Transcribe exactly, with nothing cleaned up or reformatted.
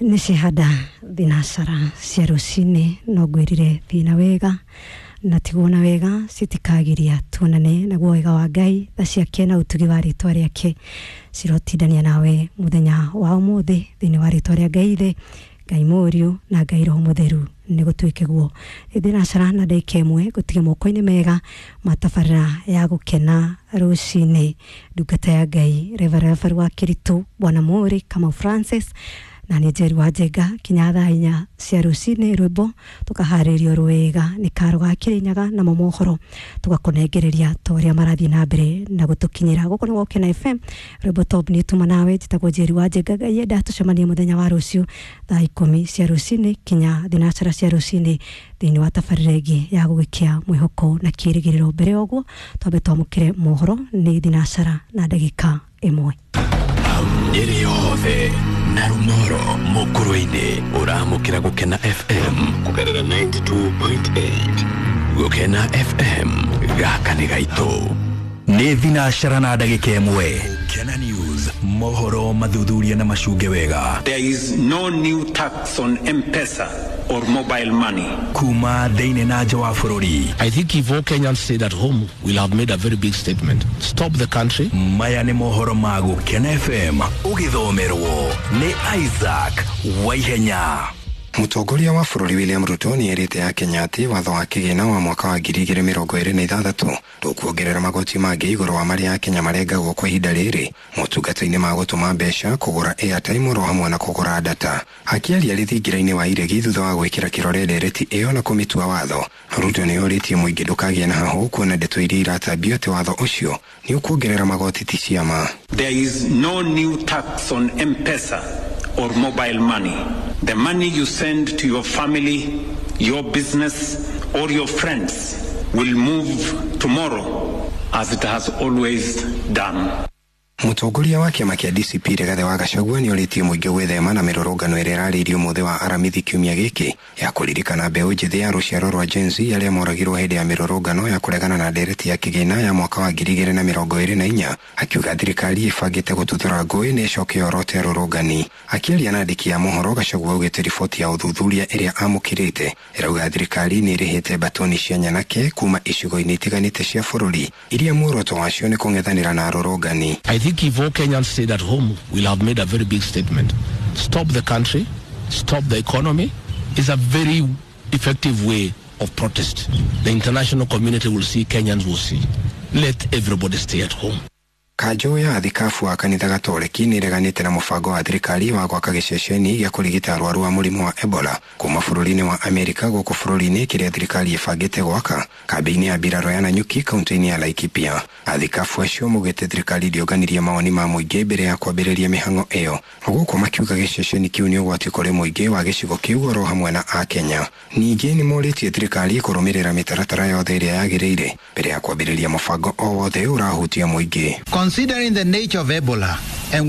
Nĩ cihanda thinacara cia rũcinĩ, no ngwĩrire thina wega na tiguona wega citikagiria tuonane naguo wega wa Ngai, tha ciake na ũtugi wa rĩtwa rĩake cirotindania nawe mũthenya wa ũmũthĩ thĩinĩ wa rĩtwa rĩa Ngai Ithe, Ngai Mũriũ na Ngai Roho Mũtheru. Nĩ gũtuĩke guo. Thinacara na ndagĩka ĩmwe gũtige moko-inĩ mega ma tabarĩra ya gũkena rũcinĩ, ndungata ya Ngai Reverend wa Kĩritũ Bwana Mũrĩ Kamau Francis na nĩ Njeri wa Njenga kinya thaa inya cia rũcinĩ. Rwĩmbo tũkaharĩrio rwega nĩ karo ga Kĩrĩnyaga, namo mohoro tũgakũnengereria ta ũrĩa marathiĩ na mbere na gũtũkinyĩra gũkũ nĩ Gũkena F M. Rwĩmbo top nĩ tuma nawe. Njĩtagwo Njeri wa Njenga. Ngai enda tũcemanie mũthenya wa rũciũ thaa ikũmi cia rũcinĩ kinya thinacara cia rũcinĩ thĩinĩ wa tabarĩra ĩngĩ ya gũgĩkia mwĩhoko na kĩrĩgĩrĩro. Mbere ya ũguo twambe twamũkĩre mohoro nĩ thinacara na ndagĩka ĩmwe. Nyeri yothe na Rumoro Mukurwe-inĩ ũramũkĩra Gũkena F M kũgerera ninety-two point eight. Gũkena F M, gaka nĩ gaitũ. Nĩ thinacara na ndagĩka ĩmwe. Gũkena News, mohoro mathuthuria na macunge wega. There is no new tax on M-Pesa or mobile money. Kuma thĩinĩ na nja wa bũrũri. I think if all Kenyans stayed at home, we'll have made a very big statement. Stop the country. Maya nĩ mohoro ma Gũkena F M, ũgĩthomerwo nĩ Isaac Waihenya. Mũtongoria wa bũrũri William Ruto nĩ erĩte Akenya atĩ watho wa kĩgĩna wa mwaka wa ngiri igĩrĩ mĩrongo ĩrĩ na ithathatũ ndũkuongerera magoti mangĩ igũrũ wa marĩa Akenya marengagwo kwa ihinda rĩrĩ motungata-inĩ ma gũtũma mbeca, kũgũra airtime oro hamwe na kũgũra data. Akĩaria rĩthingira-inĩ wa iregi thutha wa gwĩkĩra kĩrore ndereti ĩyo na kũmĩtua watho, Ruto nĩ orĩtie mũingĩ ndũkagĩe na hahũ kuona ndeto iria iratambio atĩ watho ũcio nĩ ũkuongerera magoti ti ciama. There is no new tax on M-Pesa or mobile money. The money you send to your family, your business, or your friends will move tomorrow as it has always done. Mũtongoria wa kĩama kĩa D C P Rigathĩ wa Gachagua nĩ orĩtie mũingĩ gwĩthema na mĩrũrũngano ĩrĩa ĩrarĩirio mũthĩ wa Aramithi kiumia gĩkĩ ya kũririkana mbeũ njĩthĩ ya rũciaro rwa Gen Z arĩa moragirwo hĩndĩ ya mĩrũrũngano ya kũregana na ndereti ya kĩgĩna ya mwaka wa ngiri igĩrĩ na mĩrongo ĩrĩ na inya, akiuga thirikari ĩbangĩte gũtuthũra ngũĩ nĩ ĩcoke yorote arũrũngani. Akĩaria na andĩki a mohoro, Gachagua augĩte riboti ya ũthuthuria ĩrĩa amũkĩrĩte ĩrauga thirikari nĩ ĩrĩhĩte mbatoni cia nyanake kuma icigo-inĩ itiganĩte cia bũrũri iria muoroto wacio nĩ kũng'ethanĩra na arũrũngani. I think if all Kenyans stayed at home, we'll have made a very big statement. Stop the country, stop the economy is a very effective way of protest. The international community will see, Kenyans will see. Let everybody stay at home. Kanjũ ya athikabu wa kanitha Gatoreki nĩ ĩreganĩte na mũbango wa thirikari wa gwaka gĩceceni gĩa kũrigita arwaru a mũrimũ wa Ebola kuma bũrũri-inĩ wa Amerika gũkũ bũrũri-inĩ, kĩrĩa thirikari ĩbangĩte gwaka kambĩ-inĩ ya mbirarũ ya Nanyuki, kaunti-inĩ ya Laikipia. Athikabu acio maugĩte thirikari ndĩonganirie mawoni ma mũingĩ mbere ya kwambĩrĩria mĩhang'o ĩyo, gũkũ makiuga gĩceceni kĩu nĩ ũgwati kũrĩ mũingĩ wa gĩcigo kĩu oro hamwe na Akenya. Ningĩ nĩ morĩtie thirikari kũrũmĩrĩra mĩtaratara yothe ĩrĩa yagĩrĩire mbere ya kwambĩrĩria mũbango o wothe ũrahutia mũingĩ. Considering the nature of Ebola and